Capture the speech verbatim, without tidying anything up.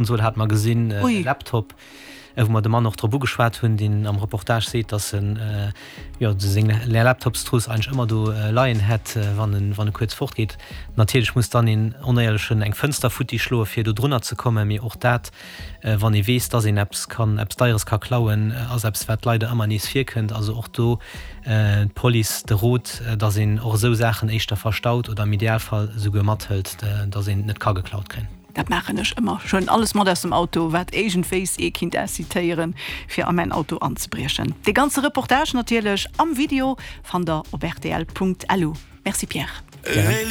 Konsol hat mer gesinn, e Laptop, wou mer de Mann och drop ugeschwat hunn, deen am Reportage seet, dass en jo seng Laptopstruss eigentlech ëmmer do leien hätt, wann en wann e kuerz fort geet. Natierlech muss dann een Onéierlechen eng Fënster futti schloe fir do drunner ze kommen, mee och dat, wann ee weess, dass een eppes kann, eppes Deieres ka klauen, ass eppes wat leider ëmmer nees virkënnt. Also och do d'Police de Rot, dass een och esou Saachen éischter verstaut oder am Idealfall esouguer mathëlt, dass een et net ka geklaut kréien. Dat maachen ech ëmmer. Ech huelen alles mat aus dem Auto, wat iergendwéis ee kinnt incitéieren, fir a mäin Auto anzebriechen. Dee ganze Reportage natierlech am Video fannt der op rtl.lu. Merci Pierre. Gären.